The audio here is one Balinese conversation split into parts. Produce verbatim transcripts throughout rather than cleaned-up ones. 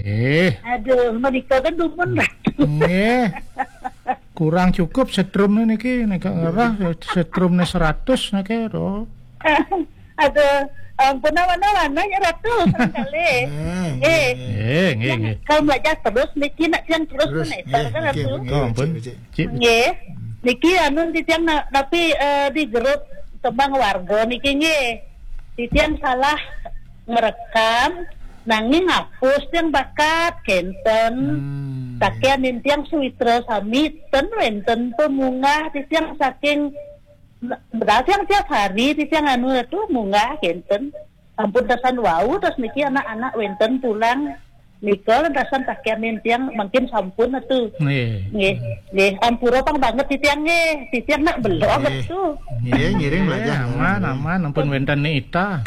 Eh. Aduh, menika kan dumun, Ratu. Nggih. Kurang cukup setrum niki, nek ngerah setrum ne seratus niki, to. Aduh, ampun, awan-awan, ya, Ratu, kali. Eh, nggih, nggih. Kalau belajar terus, niki nak yang terus. Terus, menaik, nggih, kan, nggih, Ratu? Nggih, oh, ampun. Cik, cik. Cik. Nggih. Niki anu titiang na-, tapi, eh, di grup tembang warga niki nggih. Titiang salah ngerekam, nanging ngapus yang bakat kenten. Hmm. Sakian nintiang suwitra sami ten wenten pemunggah titiang saking, padahal tiang tiap hari titiang anu itu munggah kenten. Ampun dasan wau, terus niki anak-anak wenten pulang. Nika dasan sakian nintiang mungkin sampun atu. Nggih. Nggih, nggih. Ampura pang banget titiang nggih. Titiang nak belum atu. Nggih, ngiring belajar. Aman, aman. Ampun wenten ni ita.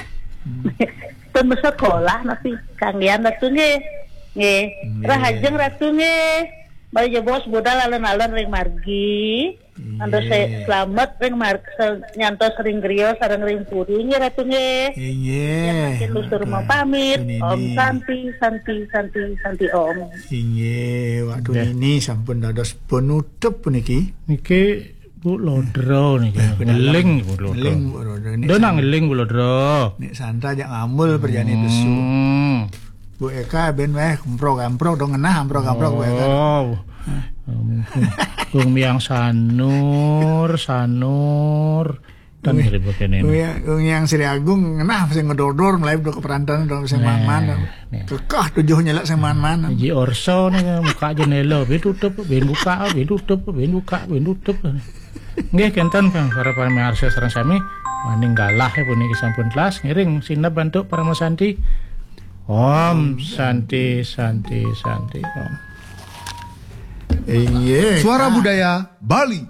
Pun sekolah masih kanggian atu nggih. Nggih. Nggih. Rahajeng Ratu nggih. Bali jebos budal alon-alon ring margi. Antos se-, selamat ring mar-, se-, nyantos ring griya sareng ring puri nggih Ratu nggih. Inggih. Yen mangkin luhur mapamit. Om Santi, Santi, Santi, Santi Om. Inggih, waktu nggih. Nini sampun dados penutup puniki. Niki Bu Lodro niki. Eh, Bu Dalem. Ngeling Bu Lodro. Ngeling Bu Lodro. Ini Dona san-, ngeling Bu Lodro. Nek Santa jak ngambul perjani besu. Hmm. Bu Eka ben weh kemprok-kemprok dong ngenah kemprok-kemprok Bu Eka. Oh. Kung Miang Sanur, Sanur. Tan Wih, mirip kene. Wih, wong yang Sri Agung ngenah sing ngedor-dor melayu do keperantan do sing man-man. Nah, nah. Kekah tujuh nyelak sing man-man. Ji Orso nih buka jendela, bin tutup, bin buka, bin tutup, bin buka, bin tutup. Nggih kenten kang para pamirsa sareng sami, maning galah ya puniki sampun telas ngiring sineb bantuk Parama Santi. Om Santi, Santi, Santi, Om. Inggih. Suara Budaya Bali.